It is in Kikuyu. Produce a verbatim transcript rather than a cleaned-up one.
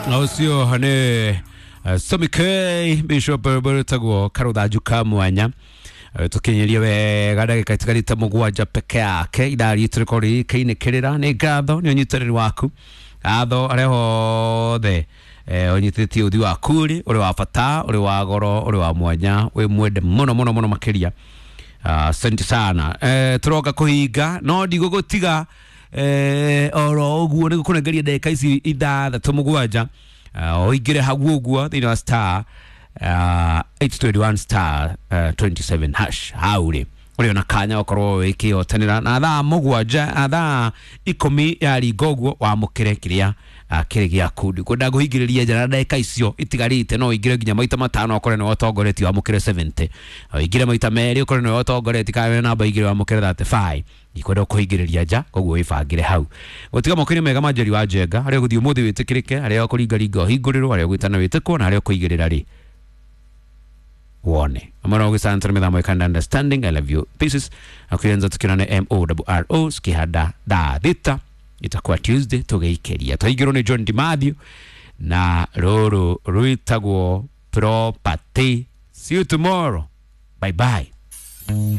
Ũcio nĩ uh, Sami K Bishop rwĩtagwo karũthanju ka mwanya. Eh, tũkinyirie wega ndagĩka itigarĩte mũgwanja peke yake ithaa ritũ rĩkorwo rĩkĩinĩkĩrĩra. Nĩ ngatho nĩ ũnyitanĩri waku, ngatho arĩa hothe eh, ũnyitĩtie ũthi waku rĩ ũrĩ wa bata, ũrĩ wa goro, ũrĩ wa mwanya, wĩ mwende mũno mũno mũno makĩria. Asante sana. eh, tũroka kũhinga no ndigũgũtiga eh, oro ũguo, nĩ gũkũnengeria ndagĩka ici ithathatũ mũgwanja uh, ũingĩre hau ũguo thĩinĩ wa star uh, eight twenty-one star uh, twenty-seven hash. Hau rĩ ũrĩ ona kanya ũkorwo wĩkĩhotanĩra na thaa mũgwanja na thaa ikũmi ya ringa ũguo wamũkĩre kĩrĩa uh, kĩrĩ gĩaku. Ndikwenda ngũhingĩrĩria njara ndagĩka icio itigarĩte, no ũingĩre nginya maita matano ũkore nĩwe ũtongoretie wamũkĩre mĩrongo mũgwanja, ũingĩre maita merĩ ũkore nĩwe ũtongoretie kana wĩna namba igĩrĩ wamũkĩre mĩrongo ĩtatũ na ithano. Ndikwenda kũhingĩrĩria nja, koguo wĩbangĩre hau gũtiga moko-inĩ mega ma Njeri wa Njenga, harĩa ũgũthiĩ ũmũthĩ wĩtĩkĩrĩke, harĩa ũkũringaringa ũhingũrĩrwo, harĩa ũgwĩtana wĩtĩkwo, na harĩa ũkũigĩrĩra rĩ wone amara ũgĩcantara mĩthamo ĩkanda understanding. I love you pieces akuyenza tukirane morro sikihanda thaa thita itakuwa Tuesday tũgĩikĩria twaingĩrwo nĩ John Dimathio na rũrũ rwĩtagwo Property. See you tomorrow, bye bye.